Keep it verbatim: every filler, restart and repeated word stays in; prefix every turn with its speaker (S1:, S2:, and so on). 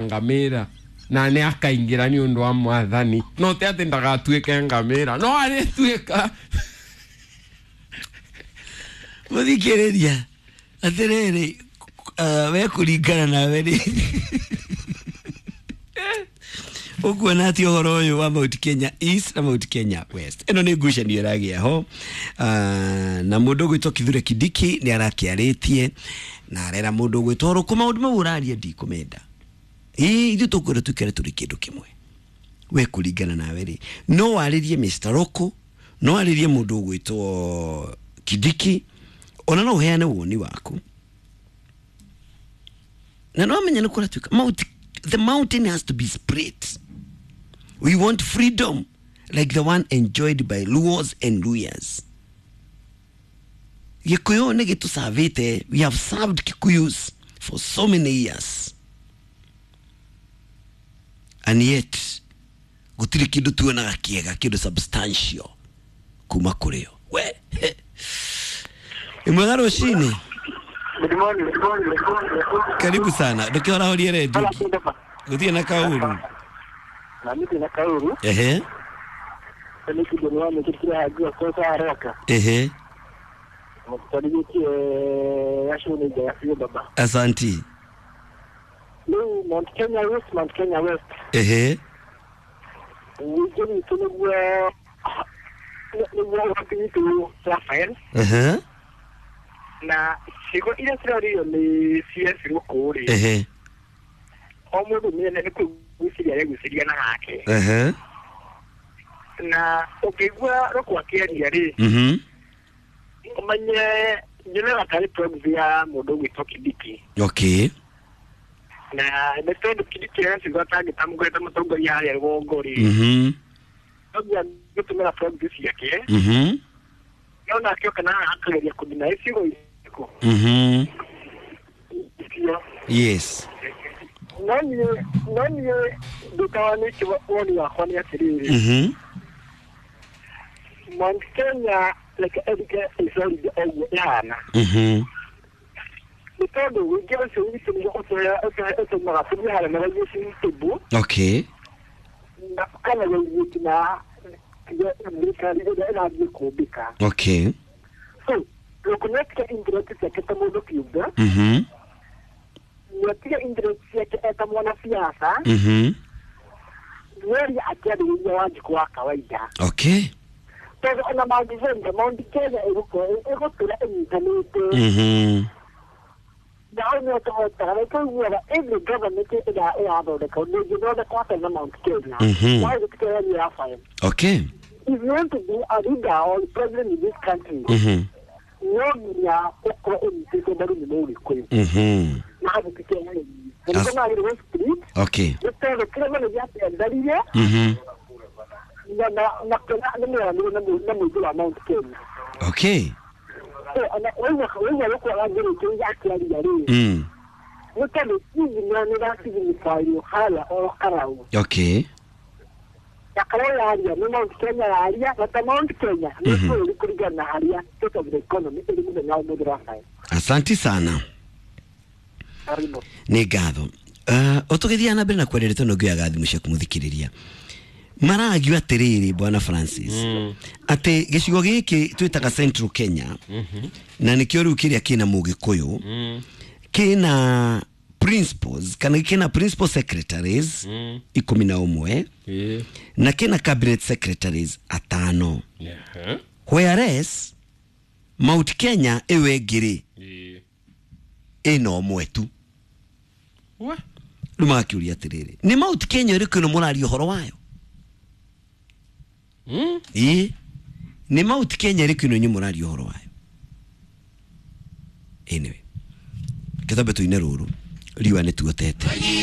S1: Ngamĩra na nĩ akaingĩra nĩ ũndũ wa mwathani, no ti atĩ ndagatuĩke ngamĩra, no arĩtuĩka.
S2: Mũthikĩrĩria, atĩrĩrĩ, uh, we kũringana nawe rĩ, ũkuona atĩ ũhoro ũyũ wa Mount Kenya East na Mount Kenya West, ĩno nĩ ngucanio ĩragĩa ho, uh, na mũndũ ũgwĩtwo Kithure Kindiki nĩ arakĩarĩtie na arera mũndũ ũgwĩtwo Rũkũ maũndũ mau ũraria ndikũmenda. Ĩ ithuĩ tũkwenda tũikare tũrĩ kĩndũ kĩmwe. We kũringana nawe rĩ, no warĩrie Mister Rũkũ, no warĩrie mũndũ ũgwĩtwo Kindiki, ona no ũheane woni waku, na no amenye nĩ kũratuĩka mount, the mountain has to be split. We want freedom like the one enjoyed by Luos and Luyas. Gĩkũyũ nĩ gĩtũcavĩte. We have served Kikuyus for so many years and yet gũtirĩ kĩndũ tuonaga kĩega, kĩndũ substantial kuma kũrĩ o. We ĩmwega rũcinĩ.
S3: Good morning. Good morning.
S2: Karibu sana, ndũkĩhorahorie redio gũtirĩ na kaũru.
S3: Na mimi na kauru.
S2: Ehe.
S3: Ni kidogo wame kile hajua kwa haraka.
S2: Ehe.
S3: Mkutariki yasho ni ya hiyo baba.
S2: Asanti.
S3: Ni Mount Kenya West, Mount Kenya West.
S2: Ehe.
S3: Wije tunugwa ni wa tu Rafael.
S2: Ehe.
S3: Na cigo iria cirarĩrio nĩ C S Rũkũ rĩ.
S2: Ehe.
S3: O mũndũ nĩ nĩ kwĩciria aregwĩciria na hake.
S2: Ehe.
S3: Na ũkĩigua Rũkũ akĩaria rĩ,
S2: Mhm.
S3: ũmenye nyonaga tarĩ proxy ya mũndũ ũgwĩtwo Kindiki.
S2: Okay.
S3: Na nĩ tondũ Kindiki aracigo atangĩtamũkoretwo mũtongoria harĩa rũgongo rĩ,
S2: Mhm.
S3: no nginya gũtũmĩra proxy ciake.
S2: Mhm.
S3: No nake oka na akageria kũnina icigo irĩkũ.
S2: Mhm.
S3: Icio.
S2: Yes.
S3: No niĩ no niĩ ndũtawanĩtie woni wakwa nĩ atĩrĩrĩ,
S2: Mhm.
S3: Mount Kenya reke ĩrike ĩcorithie ũguo ĩhana.
S2: Mhm.
S3: Nĩ tondũ ũingĩ ũcio witũ nĩguo ũtũmaga tũthiĩ harĩa na table.
S2: Okay.
S3: Na kana gũthiĩ na thirikari ĩrĩa ĩrathiĩ kũmbĩka.
S2: Okay.
S3: So Rũkũ nĩatige interest ciake ta mũndũ kĩũmbe.
S2: Mhm.
S3: Nĩatige interest ciake eta mwanasiasa.
S2: Mhm.
S3: Nĩaria akĩarĩrĩria Wanjikũ wa kawaida.
S2: Okay.
S3: Tondũ ona mangĩcenjia, Mount Kenya ĩgũkorwo ĩgũtũra ĩnyitanĩte.
S2: Mhm.
S3: Na hau nĩho tũhotaga nĩ tũiguaga every government ĩrĩa ĩrathondeka ndĩngĩthondekwo hatarĩ na Mount Kenya.
S2: Mhm.
S3: Why gũtikeheria Rafael?
S2: Okay.
S3: If you want to be a leader or president in this country,
S2: Mhm.
S3: no nginya ũkorwo ũnyitĩtwo mbaru nĩ Mũgĩkũyũ.
S2: Mhm.
S3: Na hau gũtikeheria. Na nĩkĩo magĩrĩirwo split.
S2: Okay.
S3: Nĩ tondũ kĩrĩa mene gĩatendaririe
S2: Mhm.
S3: na na na kĩrĩa nĩ mĩaranĩrio na mũ- na mũingĩ wa Mount Kenya.
S2: Okay.
S3: So ona waigua waigua Rũkũ arangĩrĩtie akĩaria rĩ,
S2: Mm.
S3: nĩ tondũ signal nĩ ĩrasignifywo harĩa o Karau.
S2: Okay.
S3: Na Karau yaria nĩ Mount Kenya yaria, na ta Mount Kenya nĩ
S2: Mhm.
S3: bũrũri kũringana na harĩa state of the economy ĩrĩ mũthenya wa ũmũthĩ, Rafael.
S2: Asanti sana.
S3: Karibu.
S2: Nĩ ngatho. Uh, ũtũgĩthiaga na mbere na kwaria ndeto ngĩoyaga thimũ ciaku mũthikĩrĩria maragio atĩrĩrĩ, bwana Francis,
S1: Mm.
S2: atĩ gĩcigo gĩkĩ twĩtaga Central Kenya, na nĩkĩo rĩu kĩrĩa kĩna Mũgĩkũyũ,
S1: Mm.
S2: kĩna principals kana kĩna principal secretaries
S1: Mm.
S2: ikũmi na ũmwe
S1: Ĩĩ.
S2: na kĩna cabinet secretaries atano,
S1: Ehe.
S2: whereas Mount Kenya ĩyo ĩngĩ rĩ,
S1: Ĩĩ.
S2: ĩna ũmwe tu.
S1: We.
S2: Rĩu magakĩũria atĩrĩrĩ, nĩ Mount Kenya ĩrĩkũ ĩno mũraria ũhoro wayo?
S1: Mm.
S2: Ĩĩ, nĩ Mount Kenya ĩrĩkũ ĩno inyuĩ mũraria ũhoro wayo? Anyway, kĩtambe tũine rũrũ riũa nĩ tuotete.